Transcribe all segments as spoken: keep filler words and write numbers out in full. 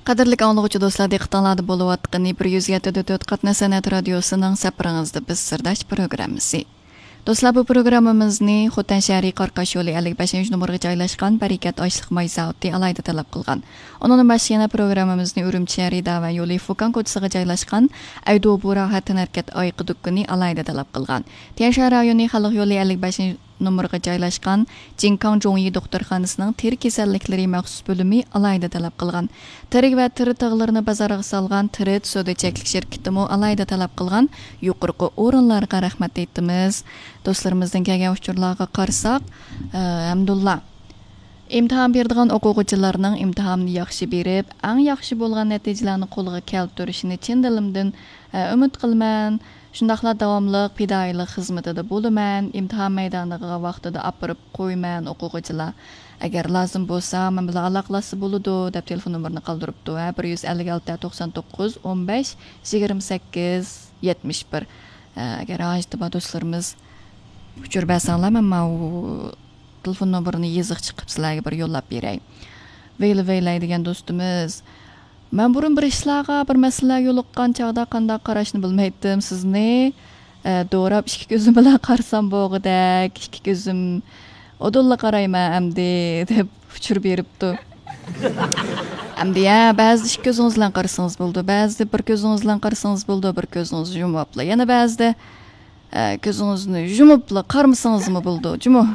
قەدىرلىك ئاڭلىغۇچى دوستلار، دىققىتىڭلاردا بولۇۋاتقىنى بىر يۈز يەتتە دۆت قاتناش سەنئەت رادىيوسىنىڭ سەپىرىڭىزدە بىز سىرداش پروگراممىسى. دوستلار، بۇ پروگراممىمىزنى خوتەن شەھىرى قاراقاش يولى ئەللىك بەشىنچى نومۇرغا جايلاشقان بەرىكەت ئاشلىق ماي زاۋۇتى ئالاھىدە تەلەپ قىلغان. ئۇنىڭدىن باشقا يەنە پروگراممىمىزنى ئۈرۈمچى شەھىرى داۋەن يولى فۇكان كوچىسىغا جايلاشقان ئەيدۇ بۇرا ھەتەنەركەت ئايىقى دۇكىنى ئالاھىدە تەلەپ قىلغان. تيەنشان رايونى خەلق يولى ئەللىك بەشىنچى نومۇرغا جايلاشقان جىنكاڭ جوڭيى دوختۇرخانىسىنىڭ تېرە كېسەللىكلىرى مەخسۇس بۆلۈمى ئالاھىدە تەلەپ قىلغان. تېرە ۋە تېرە تاغلىرىنى بازارغا سالغان تېرىت سودا چەكلىك شىركىتىمۇ ئالاھىدە تەلەپ قىلغان يۇقىرىقى ئورۇنلارغا رەھمەت ئېيتىمىز. دوستلىرىمىزدىن كەلگەن ئۇچۇرلارغا قارىساق، ئە، ھەمدۇللا. ئىمتىھان بېرىدىغان ئوقۇغۇچىلارنىڭ ئىمتىھاننى ياخشى بېرىپ، ئەڭ ياخشى بولغان نەتىجىلەرنى قولغا كەلتۈرۈشىنى چىن دىلىمدىن، ئە، ئۈمىد قىلىمەن. شۇنداقلا داۋاملىق پىدائىيلىق خىزمىتىدە بولىمەن، ئىمتىھان مەيدانىغا ۋاقتىدا ئاپىرىپ قويىمەن ئوقۇغۇچىلار. ئەگەر لازىم بولسا، مەن بىلەن ئالاقىلاشسا بولىدۇ، دەپ تېلېفون نومۇرىنى قالدۇرۇپتۇ. ھە، بىر يۈز ئەللىك ئالتە، توقسان توققۇز، ئون بەش، يىگىرمە سەككىز، يەتمىش بىر. ئە، ئەگەر ھاجىتى بار دوستلىرىمىز ئۇچۇر بەرسەڭلار، مەن ماۋۇ تېلېفون نومۇرىنى يېزىقچە قىلىپ سىلەرگە بىر يوللاپ بېرەي. ۋەيلى ۋەيلەي دېگەن دوستىمىز، مەن بۇرۇن بىر ئىشلارغا، بىر مەسىلىلەرگە يولۇققان چاغدا قانداق قاراشنى بىلمەيتتىم. سىزنى، ئە، دوراپ ئىككى كۆزۈم بىلەن قارىسام بولغۇدەك، ئىككى كۆزۈم ئۇدۇللا قارايمەن ئەمدى، دەپ ئۇچۇر بېرىپتۇ. ئەمدى، يا، بەزىدە ئىككى كۆزىڭىز بىلەن قارىسىڭىز بولىدۇ، بەزىدە بىر كۆزىڭىز بىلەن قارىسىڭىز بولىدۇ، بىر كۆزىڭىزنى يۇمۇپلا. يەنە بەزىدە ئە، كۆزىڭىزنى يۇمۇپلا قارىمىسىڭىزمۇ بولىدۇ، جۇمۇ.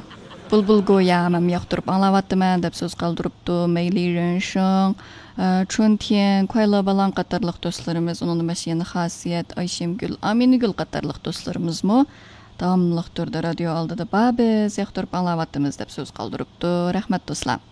بۇلبۇل گويا مەن ياقتۇرۇپ ئاڭلاۋاتىمەن، دەپ سۆز قالدۇرۇپتۇ. مەيلى رېنشىڭ، ئە، چۈنتيەن، كۇەيلا بالاڭ قاتارلىق دوستلىرىمىز، ئۇنىڭدىن باشقا يەنە خاسىيەت، ئايشەمگۈل، ئامىنىگۈل قاتارلىق دوستلىرىمىزمۇ داۋاملىق تۈردە رادىيو ئالدىدا بار، بىز ياقتۇرۇپ ئاڭلاۋاتىمىز، دەپ سۆز قالدۇرۇپتۇ. رەھمەت، دوستلار.